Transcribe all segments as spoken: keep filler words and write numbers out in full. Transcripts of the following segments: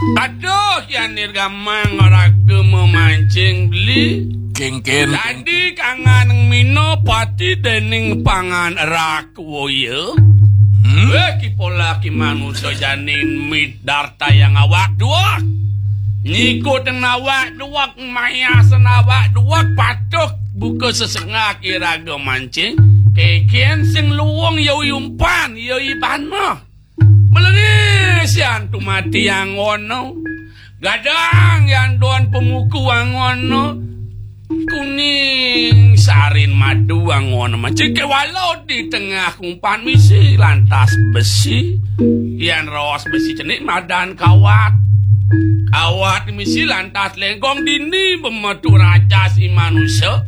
Aduh, yan nirgamang raga mamancing beli. Kéngkén. Dadi kangan mina pati dening pangan rakwaya. Hmm? Wéh, ki polah ki manusa jani midartayang awak duwek. Nyikutin awak duwek, mayasin awak duwek, patuh buka sesengak iraga mancing. Kékén sing luung ya umpan, ya ibana. Mlene sian tumati angono. Gadang yan don pemuku angono. Kuning sarin madu angono. Macam kewala di tengah kumpan misi lantas besi. Yan raos besi cenik madan kawat. Kawat misi lantas lengkong dini bemetu rajas i manusa.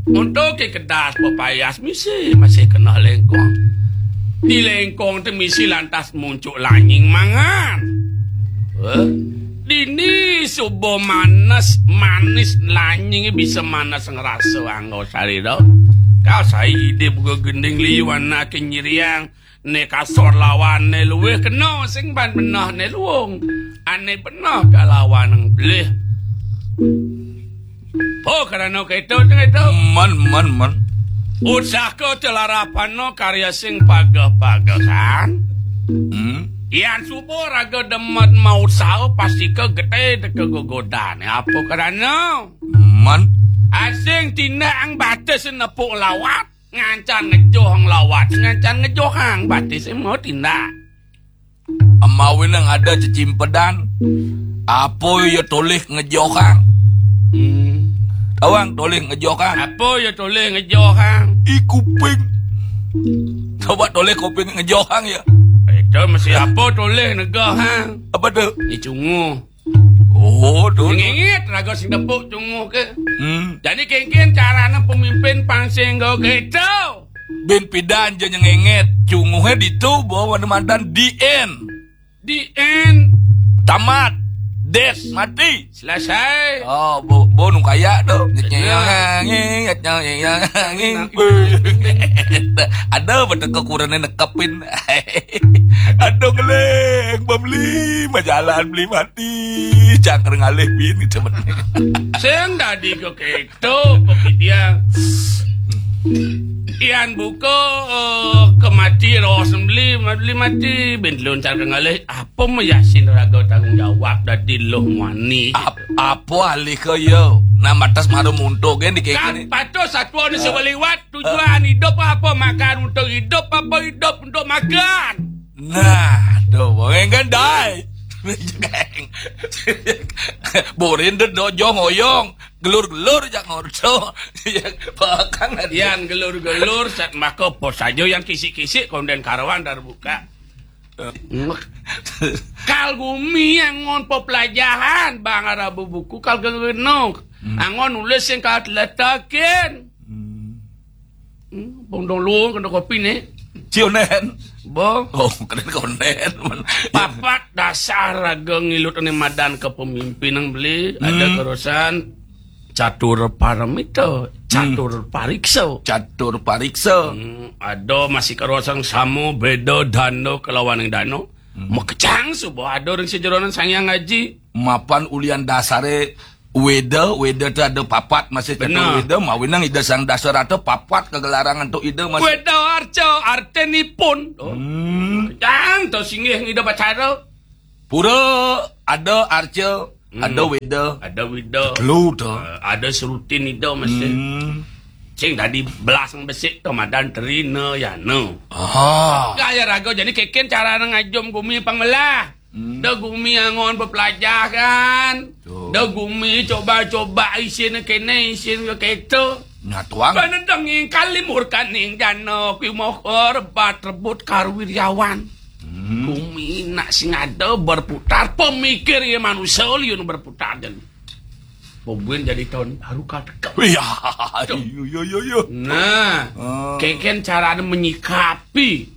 Untuk ke kedas pepayas misi masih kena lengkong. Di lengkong tu misi lantas muncuk lanying mangan. Wah, dini suba manis, manis lanying bisa manis ngerasa anggo sari tau. Kau sai ide buka gending liu anak nyiriang. Ne kasor lawan ne luwih kena sing ban benah ne luung. Ane benah ka lawan nang belih. Oh, karena keto, keto. Men, men, men. Usaha telarapano karya sing pageh-pagehan. Hmm. Yan suba raga demet mausaha pasti ke gede deke gogodan. Apa karena? Men. Asing tindak ang batis nepuk lawat. Ngancan ngejoh ngelawat, ngancan ngejohang, batis mau tindak. Amawinang ada cecimpedan, apa ya tolih ngejohang? Hmm. Tawang tolih ngejohang. Apa ya tolih ngejohang? I kuping. Coba tolih kuping ngejohang ya. Itu mesti apa tolih ngejohang? Apa tu? I cunguh. Oh, tu. Ngingit raga sing tepuk cunguh ke. Hmm. Jadi kengken carane pemimpin pansing go gitu. Bin pidan je nyengengit, cunguhe ditu bawa mandan D N. D N. Tamat. Des, mati. Selesai. Oh, bo, bo nu kaya tu. Ada betul kekurane nekepin. Aduh, ngeleng, beli majalan, beli mati. Cangker ngalih bin gitu. Sing dadi kok itu, kok dia. Ian buka, eh, kemati, ros beli, beli mati. Bin luncar ke ngalih. Apa meyasin raga tanggung jawab dadi loh mani? Ap-, apa alih ke ya? Nah, matas maru muntuk kan dikene. Kan patut satwa ni sebeliwat. Tujuan hidup apa? Makan untuk hidup apa hidup untuk makan? Nah, tu, bengeng kan, dai. Borin de dojo ngoyong, gelur-gelur jak ngordo. Ya, bahkan ada. Yan gelur-gelur, sat maka apa saja yang kisik-kisik, konden karawan dar buka. Eh. Kal gumi angon pepelajahan, bang, ada buku kal genok. Hmm. Angon nulis yang kal letakin. Hmm. Hmm, bondong luung kena kopi ni. Cionen. Bo. Oh, kena konen. Papat dasar raga ngilut ni madan kepemimpinan beli. Ada Hmm. kerosan catur paramita, Hmm. catur pariksa. Catur pariksa. Hmm, ada masih kerosan sama beda dana kelawan yang dana. Hmm. Makejang suba ada orang sejeronan Sang Hyang Aji. Mapan ulian dasare Weda, Weda tu ada papat, masih Benar. Weda, mawinang Ida Sang Dasarata papat kegelarangan tu Ida masih. Weda arca, artinipun. Oh. Hmm. Jang tu singgih ngida bacara. Pura ada arca, Hmm. ada Weda. Ada Weda. Telu tu. Eh, ada serutin Ida masih. Hmm. Sing tadi belas besik tu madan terina ya no. Ah. Gaya raga jadi keken cara ngajum gumi pangmelah. Hmm. Da gumi angon bepelajahan. Betul. Da gumi coba-coba isin kene, isin ke keto. Nyatuang. Panedenging kalimurkaning dana kuwi moh rebat rebut karwiryawan. Hmm. Gumi nak sing ada berputar, pemikir ya manusia liun berputar dan pembuin jadi tahun baru kateka. Iya, Tuh. Iya, iya, iya, iya. Nah, Ah. keken carane menyikapi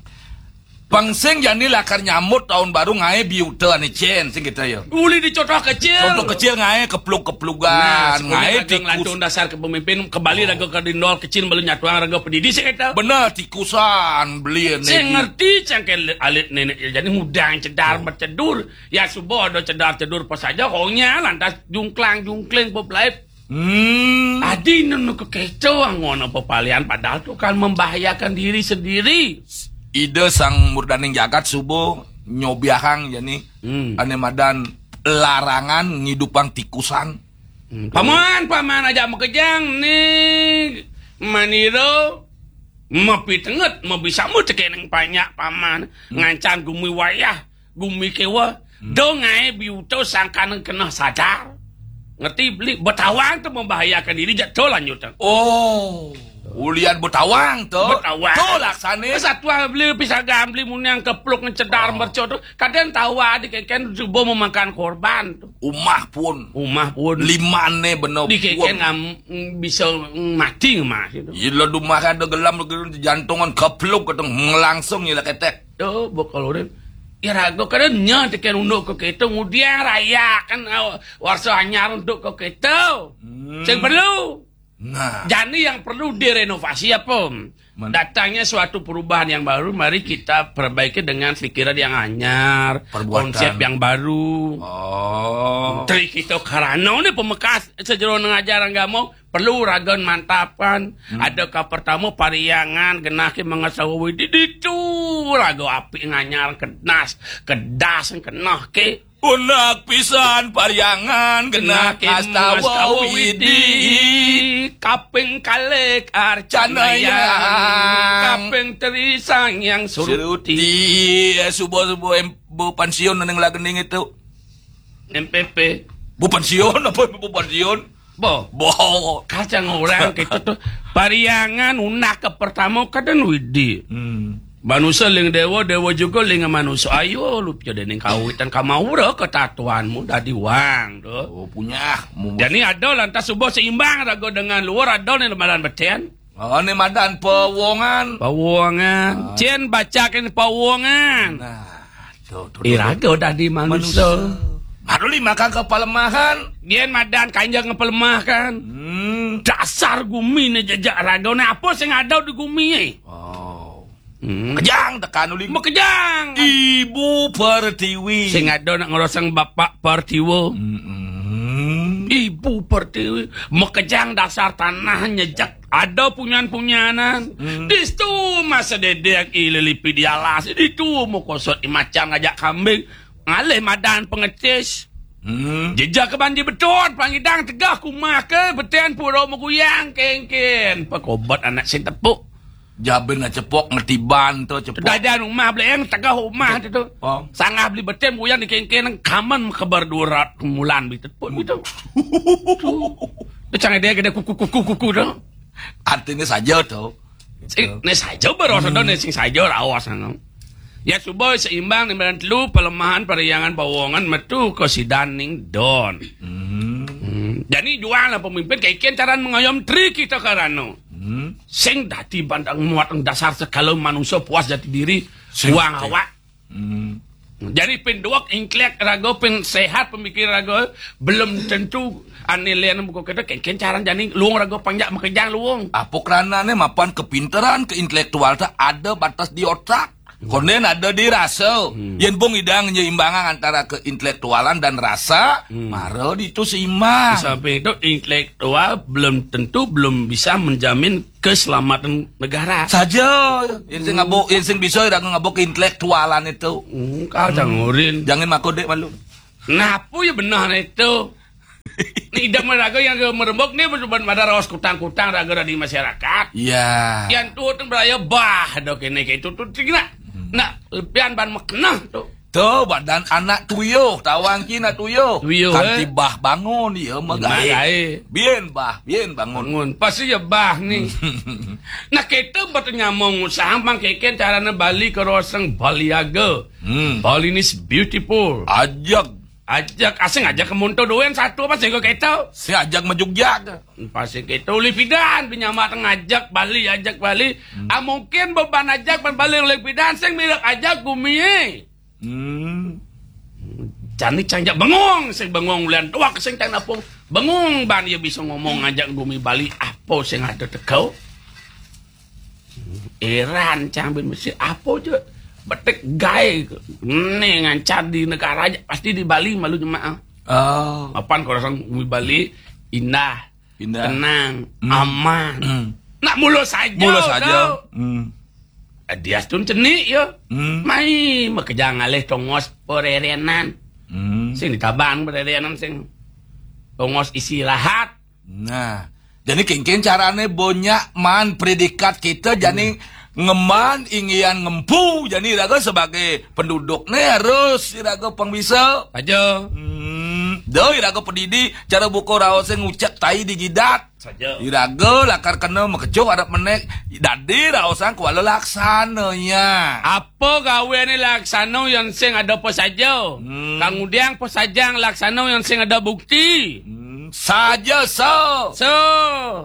Pang sing jani lakar nyambut tahun baru ngaé biuta ané cén sing kita ya. Uli di contoh kecil. Contoh kecil ngaé keplug-keplugan, nah, ngaé tikus. Lantung dasar ke pemimpin, kembali raga ke dindol kecil, beli nyatuang raga pedidi sing kita. Bener, tikusan beli ané. Sing ngerti cangké alit nenek ya, jadi mudang cedar bercedur. Ya subuh ada cedar-cedur pas aja, honya lantas jungklang-jungkling bebelait. Hmm. Adi nunu kekeco angon apa palian, padahal tuh kan membahayakan diri sendiri. Ida Sang Murdaning Jagat subuh nyobiahang jani. Hmm. Ané madan larangan ngidupang tikusan. Hmm. Paman, paman aja makejang nih. Maniro mapitenget, mabisama tekening panyak paman. Hmm. Ngancan gumi wayah, gumi kewa. Hmm. Do ngaé biuta sangkaning keneh sadar. Ngerti beli, betawang tuh membahayakan diri, jak to lanjutan. Oh, ulian betawang tuh. Betawang. Tuh laksané. Satwa beli pisagan beli mun yang kepluk ngecedar merco tuh. Kadang tawa di keken subuh memakan korban tuh. Umah pun. Umah pun. Limané bener. Di keken ngam-, bisa mati mah gitu. Iya, lo dumah ada gelam, jantungan kepluk keteng langsung ya ketek. Tuh, bokol urin. Ya raga kadang nya tekan unduk ke kita, ngudiang raya kan, ah, warsa anyar untuk ke kita. Hmm. Sing perlu. Nah. Jani yang perlu direnovasi apa? Datangnya suatu perubahan yang baru, mari kita perbaiki dengan pikiran yang anyar, perbuatan. Konsep yang baru. Oh. Tri kita karana ini pemekas sejeroning ajaran agama, perlu raga mantapan. Hmm. Ada ka pertama pariangan, genah ke mangasawa widi ditu, raga api nganyar kedas, kedas keneh ke. Unak pisan pariangan genah kastawa widi. Kaping kalih arcanayang. Kaping teri sang yang suruti. Suruti, eh, subuh-subuh em-, bu pensiun neng lagening itu. M P P. Bu pensiun apa bu pensiun? Bo. Bo. Kacang orang gitu tuh. Pariangan unak ke pertama kadang widi. Hmm. Manusia ling dewa, dewa juga ling manusia. Ayo, lu jadi ning kawitan kamaura ketatuanmu dadi wang tuh. Oh, punya. Jadi ada lantas subuh seimbang raga dengan luar, ada nih madan beten. Oh, ini madan pawongan. Pawongan. Ah. Cén bacakin pawongan. Nah, tuh, tuh, tuh. Iraga dadi manusia. Manusia. Baru lima kang kepalemahan. Yén madan kanjeng ngepelemahkan. Hmm. Dasar gumi né jejak raga. Nah, apa sing ada di gumi? Oh. Hmm. Kejang tekan uli. Makejang. Ibu Pertiwi. Sing ada nak ngerosang Bapak Pertiwa. Mm-mm. Ibu Pertiwi. Makejang dasar tanah nyejak. Ada punyan-punyanan. Hmm. Distu masa dedek ililipi di alas. Ditu mau kosot imacan ngajak kambing. Ngalih madan pengecis. Hmm. Jejak ke banjir betot, pangidang tegah kumah ke, beten pura meguyang, kengken. Pekobat anak sing tepuk. Jabin cepok ngetiban tu, cepok. Dadan rumah beli yang tegah rumah tu, tu. Oh. Sangah beli beten buyang di kengken, kaman kebar dua ratus mulan beli tepuk gitu. Tu. Tu canggih dia gede kuku, kuku, kuku tu. Artinya saja tu. Sing, né saja baru ada, né sing saja raos anu. Ya, subuh seimbang ning badan telu, pelemahan, pariangan, pawongan, metu ke sidaning don. Hmm. Hmm. Jadi jual lah pemimpin, kayak ikan caran mengayom tri kita karano. Hmm. Sing dadi bandang muat dasar segala manusia puas jati diri, sing uang dadi awak. Hmm. Jadi pin duwek intelek raga, pin sehat pemikir raga, belum tentu ane len buku kita kengken caran jani luung raga panjak makejang luung. Apa karanane mapan kepinteran ke intelektual ta ada batas di otak. Konden ada di rasa. Hmm. Yen bung idang nyeimbangan antara keintelektualan dan rasa, hmm, mara ditu seimbang. Sampai itu intelektual belum tentu belum bisa menjamin keselamatan negara. Saja, yen sing ngabuk, yen sing bisa ira ngabuk keintelektualan itu. Hmm, kau jangan ngurin. Jangan mako dek malu. Napa ya benar itu? Ni idam raga yang merembuk ni berubah pada rawas kutang-kutang raga dari masyarakat. Iya. Yang tu tu beraya bah dok ini ke itu tu tinggi nak. Hmm. Nak lepian ban meknah tu. Tu badan anak tuyuh, tawang ki nak tuyuh. Tuyuh, kanti eh. Bah bangun, iya magae. Magae. Bien bah, bien bangun. Bangun. Pasti ya bah ni. Nah, kita buat nyamong usaha mang keken carane Bali ke roseng Baliaga. Hmm. Bali ni beautiful. Ajak. Ajak, asing ajak ke monto doang satu apa sing kok keto? Sing ajak majugjag. Pasti keto, ulih pidan, pinyamak ngajak Bali, ajak Bali. Ah, mungkin beban ajak ban Bali ulih pidan, sing mirip ajak gumi. Hmm. Jani cang jak bengong, sing bengong ulian tuak, sing cang napung. Bengong ban ia bisa ngomong ngajak gumi Bali, apa sing ada teko? Eran cang bin mesti apa je? Betik gai. Ni ngancar di negara aja, pasti di Bali malu jemaah. Oh. Apan kalau orang gumi Bali, indah, Indah. Tenang, Hmm. aman. Hmm. Nak mula saja. Mula saja. Hmm. Dia tun cenik ya. Hmm. Mai makejang alih tongos pererenan. Hmm. Sing ditabang pererenan sing tongos istirahat. Nah, jadi kengken carane banyak man predikat kita jadi Hmm. ngeman inggian ngempu jadi iraga sebagai penduduk ne harus iraga pang bisa. Aja. Hmm, dah iraga pedidi cara buka raos ngucap tai di gidat. Saja. Iraga lakar kena makejang arep menek dadi raosan kuala laksana ya. Apa gawe ni laksana yang sing ada apa saja? Hmm. Kang Udiang apa saja laksana yang sing ada bukti? Hmm, saja so. So.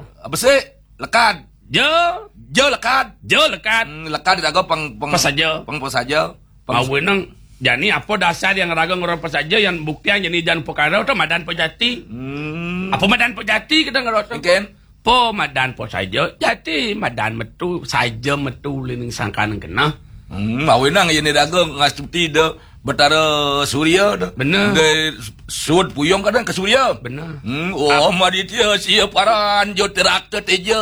Apa sih? Lekad. Jo. Jo lekad. Jo lekad. Hmm, lekad iraga pang pang Apa saja? Pang apa saja? Pang Awe nang jani apa dasar yang raga ngorang apa saja yang bukti yang jadi jan perkara tu madan pejati. Hmm. Apa madan pejati kita ngerasa? Mungkin. Po madan po saja, jati madan metu, saja metu lining sangkan kena. Hmm, awe nang ini dagang ngastuti de Betara Surya de. Benar. De sud puyung kadang ke Surya. Benar. Hmm, oh, Maditya sia paran jo terakta teja.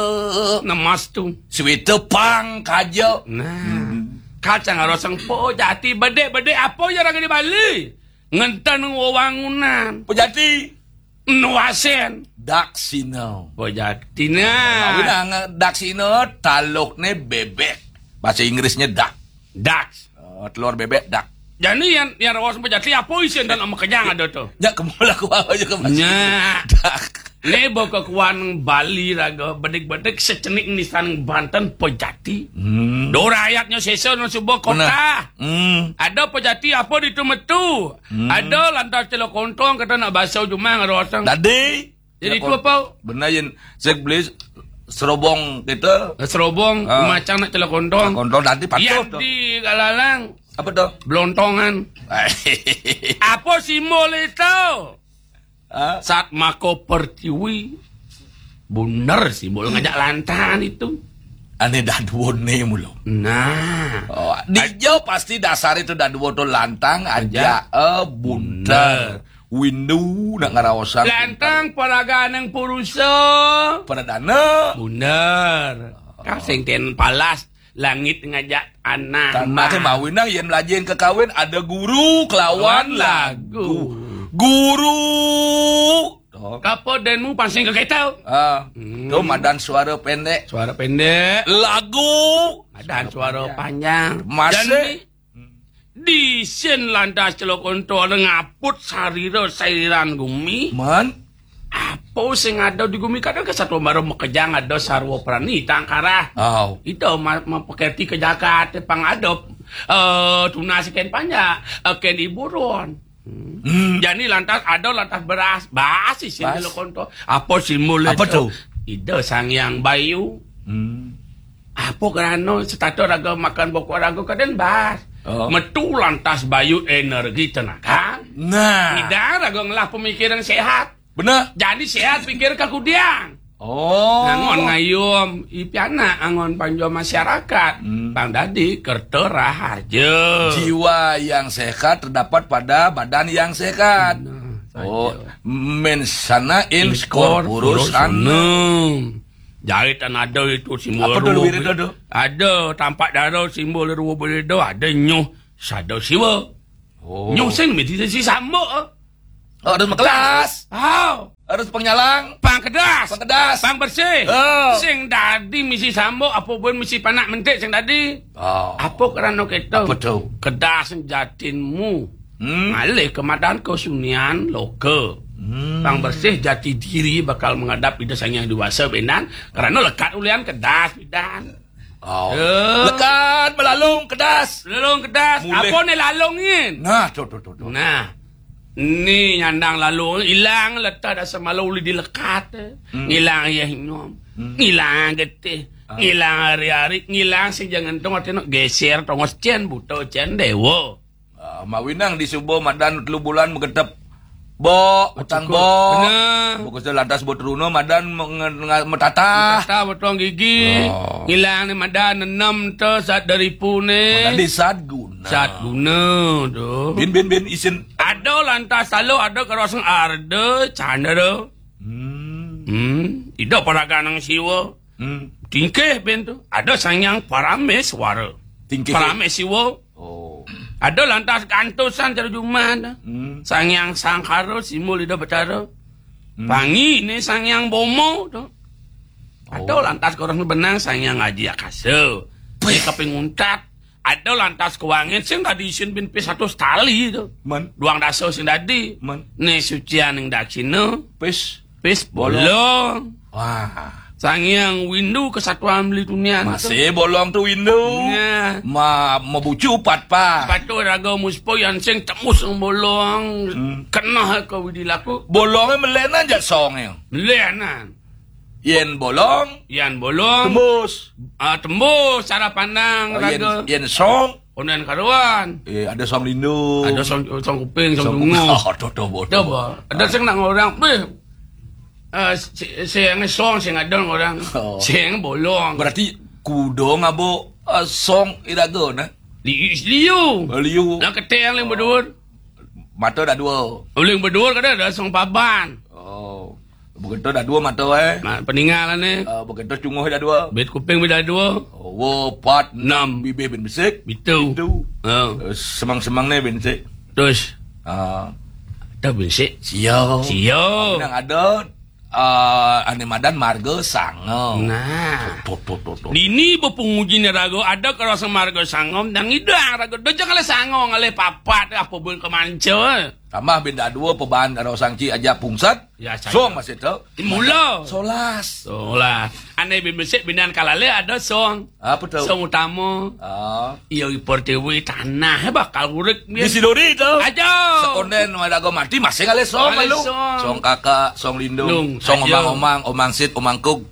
Namas tu. Swita pang kaja. Nah. Hmm. Kacang arosang po jati bedek-bedek apa ya orang di Bali? Ngenten wewangunan. Pejati. Nuasen. Daksina. Pejati nah. Nah, daksina talukne bebek. Bahasa Inggrisnya duck. Ducks. Oh, telur bebek duck. Jadi yang yang rawas pejati apa isin dan sama kejang ada tu? Ya kemula ku aja ke bahasa Nya. Duck. Ni baka kuan Bali raga bedik-bedik secenik nisan Banten pejati. Hmm. Do rakyatnya sesa nang suba kota. Benar. Hmm. Ada pejati apa di tu metu? Hmm. Ada lantas celok kontong kata nak basau jumang ada orang. Dadi. Jadi tu apa? Benar yen sek beli serobong kita. Serobong ah. Macam nak celok kontong. Kontong dadi patuh tu. Di galalang. Apa tu? Blontongan. Apa simbol itu? Ha? Sat mako pertiwi. Bunder sih, mula ngajak lantahan itu. Ane daduo ne mulo. Nah. Oh, di jo pasti dasar itu daduo tu lantang aja eh bunter. Windu nak ngaraosan. Lantang paraga nang purusa. Pradana. Bunder. Kau sing ten palas. Langit ngajak tanah. Tanah ke mawinang yen melajin ke kawin ada guru kelawan lagu. Guru. Kapa denmu pansing ke kita? Ah, hmm. Tu madan suara pendek. Suara pendek. Lagu. Madan suara panjang. Masih. Di sin lantas celok kontol ngaput sarira sairan gumi. Man. Apa sing ada di gumi kadang ke satu baru makejang ada sarwa prani tangkarah. Oh. Itu ma- mempekerti ke jagat pang ada eh tunas ken panjak eh, ken iburon. Hmm. Jadi lantas ada lantas beras, basi sin celok kontol. Apa simbol apa tu? Ida Sang Yang Bayu. Hmm. Apa kerana setata raga makan bokok raga kaden bas. Oh. Metu lantas bayu energi tenaga. Nah. Ida raga ngelah pemikiran sehat. Benar. Jadi sehat pikir kakudian. Oh. Nangon ngayum ipianak angon panjo masyarakat. Hmm. Bang dadi kerta rahaja. Jiwa yang sehat terdapat pada badan yang sehat. Nah, oh, mensana in corpore sano. Jari tan ada itu simbol. Apa tu luwir itu tu? Ada tampak dara simbol ruwa bereda, ada nyuh sada siwa. Oh. Nyuh sing meditasi sambuk. Oh, harus kelas. Oh. Harus penyalang. Pang kedas. Pang kedas. Pang bersih. Oh. Sing dadi misi sambuk apa pun misi panak mentik sing dadi. Oh. Apa kerana kita? Apa tu? Kedas jatinmu. Hmm. Ngalih ke madan kesunian loka. Hmm. Pang bersih jati diri bakal menghadap Ida Sang Yang Dewasa bendan kerana lekat ulian kedas bendan. Oh. Ya. Lekat melalung kedas. Melalung kedas. Mulih. Apa ni lalung ni? Nah, tu tu tu tu. Nah. Ni nyandang lalu, ilang leteh dasar malu uli dilekat. Hmm. Ngilang ayah inyum. Hmm. Ngilang getih. Ah. Ngilang ari-ari, ngilang sing jangan tong artine geser tongos cen buta cen dewa. Ah, mawinang di suba madan telu bulan magetep. Bo, utang cukup. Bo. Bener. Bukuse lantas bo teruna madan menge-, nga-, metatah. Metatah, potong gigi. Oh. Ngilang ni madan nenem te sat dari pune. Oh, tadi sat guna. Sat guna tu. Bin, bin, bin, isin. Ada lantas lalu, ada kerosong arda, candra. Hmm. Hmm. Ida paraganang siwa. Hmm. Tingkih bin tu. Ada Sang Hyang Parameswara. Tingkih. Parameswara. Oh. Ada lantas gantusan cara juman. Hmm. Sang Hyang Sangkara, simbol Ida Betara. Hmm. Pangi ni Sang Hyang Bomo tu. Ada. Oh. Lantas korang benang Sang Hyang Aji Akasa. Pih. Dia kaping untat. Ada lantas kewangin sing dadi isin bin pis satu setali tu. Men. Duang dasa sing dadi. Men. Ni sucian ning daksina. Pis. Pis bolong. Bolong. Wah. Sang Hyang Windu kesatuan beli tunian. Masih bolong tu Windu. Nah. Ma, mabucu pat pa. Patu raga muspa yan sing tembus bolong. Hmm. Kena ke widi laku. Bolongnya melenan jak songnya. Melenan. Yen bolong. Yan bolong. Tembus. Ah, tembus cara pandang. Oh, yen, raga. Yen song. Konden karuan. Eh, ada song lindu. Ada song, song kuping, song song tunggu. Oh, dodo bodoh. Coba. Ada sing nak orang, beh. Eh, si, si yang song, sing ada orang. Oh. Sing bolong. Berarti kudo ngabo, eh, song iraga, nah? Liu, liu. Oh, liu. Nak keteng yang berdua. Mata dah dua. Uling berdua kada ada song paban. Oh. Begitu dah dua mata, eh. Nah, peninggalan ni. Ah, begitu cunguh dah dua. Bit kuping dah dua. Oh, wo, empat, enam. Enam. Bibih bin besik. Bitu. Bitu. Ha. Eh, semang-semang ni bin besik. Terus. Ah. Dah bin besik. Sia. Sia. Nang ada, ah, ane madan marga sanga. Nah. Tuh, tuh, tuh, tuh. Dini bepenguji ni raga ada kerasa marga sanga, nang idang raga. Dah jangan le sanga, ngalih papat, apa pun kemanca. Tambah bin dah dua peban karo sangci aja pungsat. Ya, saya. Song masih tu. Mula. Solas. Solas. Ane bin besik binan kalale ada song. Apa tu? Song utama. Ah. Iya, i pertiwi tanah bakal urip. Di Sidori tu. Aja. Sekonden madago mati masih ngalih song. Ngalih malu. Song. Song kakak, song lindung, lung, song aja. Omang-omang, omang sit, omang kug.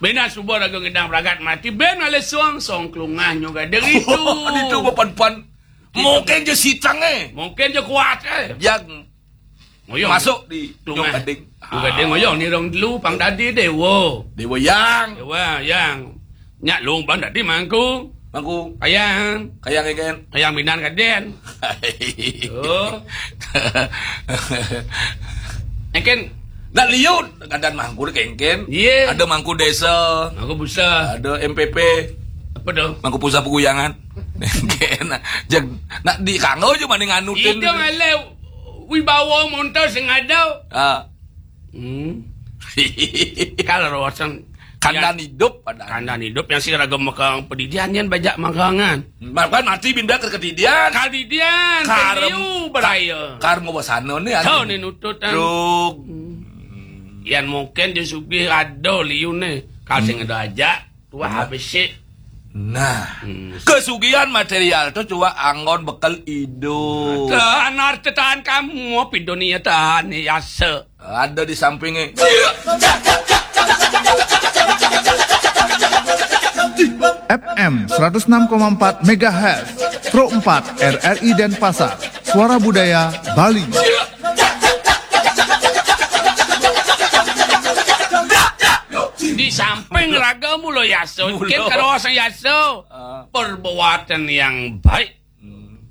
Bina subuh raga ngidang ragat mati, ben ngalih song, song kelungah nyoga diri tu. Di tu bepan-pan. Mungkin je sitang, eh. Mungkin je kuat, eh. Yang ngoyong. Masuk di Kelungah. Nyong Gading. Nyong Gading ngoyong ni rong dulu pang dadi dewa. Dewa yang. Dewa yang. Nyak lung pang dadi mangku. Mangku. Kayang. Kayang eken. Kayang minan kaden. Oh. Eken. Nak liut. Kadan mangku dek eken. Iya. Ada mangku desa. Mangku pusat. Ada M P P. Apa tu? Mangku pusat peguyangan. Eken. Jeng, nak di kanggo je mending anutin. Itu ngalih wibawa montor sing ada. Ah. Hmm. Kalau rawasan kandan hidup pada. Kandan hidup yang si raga mekang pedidian yang bajak mangkangan. Makan mati binda ke kedidian. Kadidian, kar-, kediu beraya. Kar mau basana ni. Tahu ni nutut, kan? Truk. Hmm. Yang mungkin dia sugih ada liu ni. Kalau sing ada ajak, tuah habis sih. Nah, hmm. Kesugihan material tu cuma anggon bekel hidup. Tahan harta, tahan kamu, apa dunia tahan ni asa. Ada di sampingnya. F M seratus enam koma empat megahertz, Pro empat R R I Denpasar, Suara Budaya Bali. Di samping raga mula yasa, mula. Ken karo sang yasa. Ah. Perbuatan yang baik. Hmm.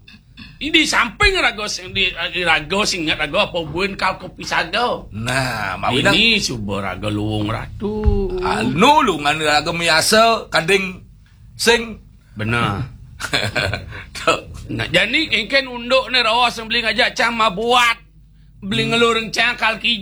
Ini di samping raga sing, di, di raga sing ingat raga apa buin kau kopi sada. Nah, mawinang. Ini suba raga luwung ratu. Anu lungan raga miasa kading sing. Benar. Tu. Nah, jani engken unduk ni rawa sing beli ngajak cang mabuat. Beli ngelur cang kal kija.